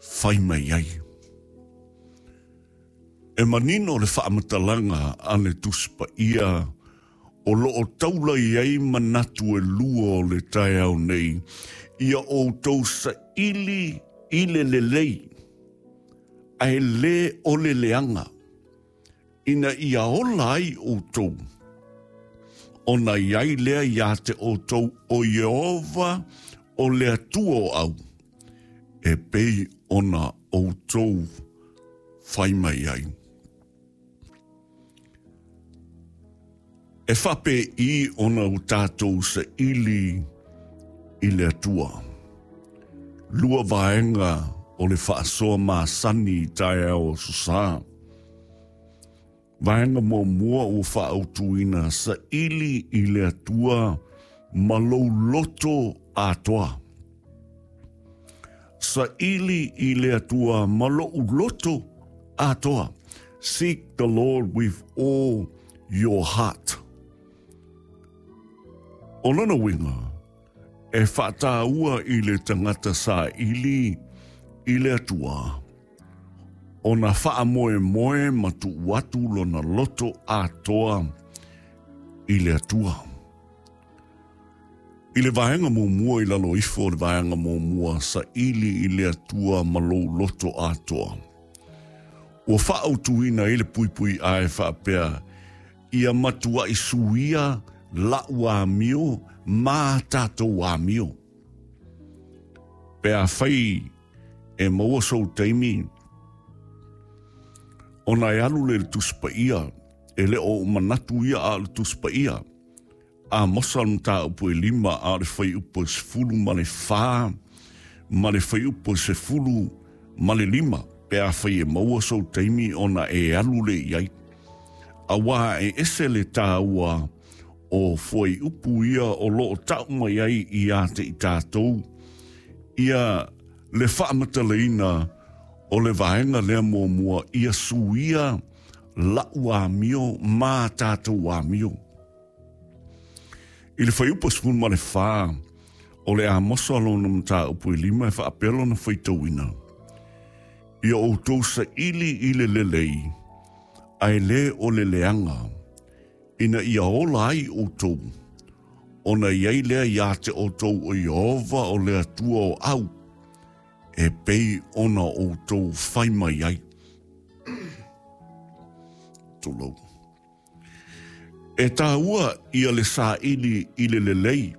fai mai ai. E manino le faamatalaga a le Tusi Paia o lo o taula i ai manatu e lua o le taeao nei, ia outou saili i le lelei, ae le o le leaga, ina ia ola ai outou, ona i ai lea iā te outou o Ieova o le Atua o au, e pei ona outou fai mai ai. E faapei ona o tatou saili i le Atua. Lua vaega o le faasoa masani i taeao o Aso Sa. Vaega muamua ua faaautuina saili i le Atua ma lou loto atoa. Saili i le Atua ma lou loto atoa. Seek the Lord with all your heart. O lona uiga, e faataua i le tagata saili i le Atua, ona faamoemoe ma tuu atu lona loto atoa i le Atua. I le vaega muamua i lalo ifo o le vaega muamua, saili i le Atua ma lou loto atoa. Ua faaautuina ai le puipui ʻae faapea, Ia matuaʻi suia laʻu amio ma tatou amio. Pe afai e maua sou taimi ona e alu lea i le Tusi Paia, e le o ou manatu ia a o le Tusi Paia. Amosa o le mataupu e 5 a o le fuaiupu e 14 ma le fuaiupu e 15, pe afai e maua sou taimi ona e alu lea i ai. Auā e ese le tāua o fuaiupu ia o lo o ta'u mai ai iā te i tātou ia le faamatalaina o le vaega lea muamua ia suia la'u amio ma tātou amio. I le fuaiupu 14 o le Amosa lona mataupu e 5 e faapea lona faitauina, Ia outou saili i le lelei, ae le o le leaga, ina ia ola ai outou, ona i ai lea iā te outou o Ieova o le Atua o au, e pei ona outou fai mai ai. Tulou. E tāua ia le saili i le lelei,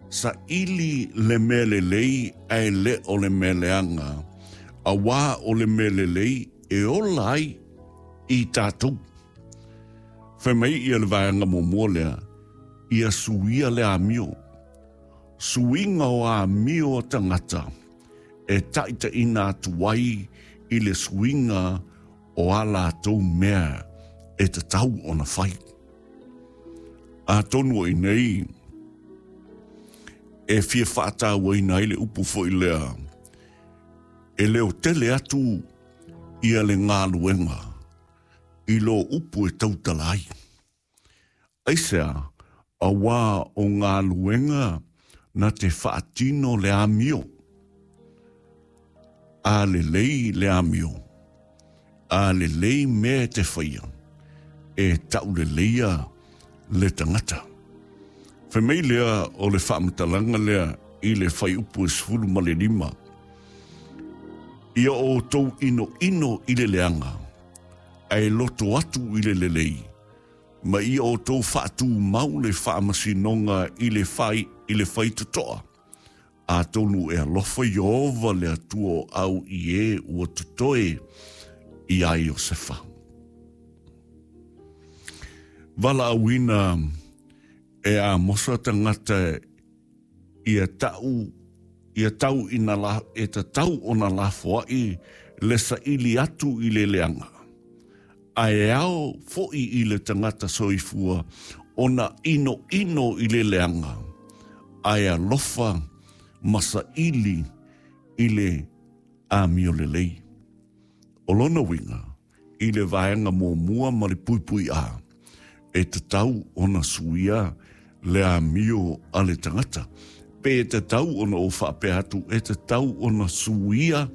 saili le mea lelei ae le o le mea leaga, auā o le mea lelei e ola ai i tātou. Fai mai ia le vaega muamua lea, ia suia le amio. Suiga o amio a tagata e taitaina atu ai i le suiga o a latou mea e tatau ona fai. Atonu o i nei e fia faatauaina ai le upu foi lea, e leo tele atu ia le galuega i lo upu e tautala ai. Aisea, auā o galuega na te faatino le amio. A lelei le amio, a lelei mea e te faia, e tauleleia le tagata. Fai mai lea o le faamatalaga lea i le fuaiupu e 15, Ia outou inoino i le leaga, ae loto atu i le lelei, ma ia outou faatumau le faamasinoga i le fai i le faitotoa, atonu e alofa Ieova le Atua o au i e ua totoe iā Iosefa. Valaauina e Amosa tagata ia ta'u ia tau ina la, e tatau ona lafoa'i le saili atu i le leaga, ae ao fo'i i le tagata soifua ona inoino i le leaga, ae alofa ma saili i le amio lelei. O lona uiga, i le vaega muamua ma le puipui A, e tatau ona suia le amio a le tagata. Pe tatau ona ou faapea atu, e tatau ona suia.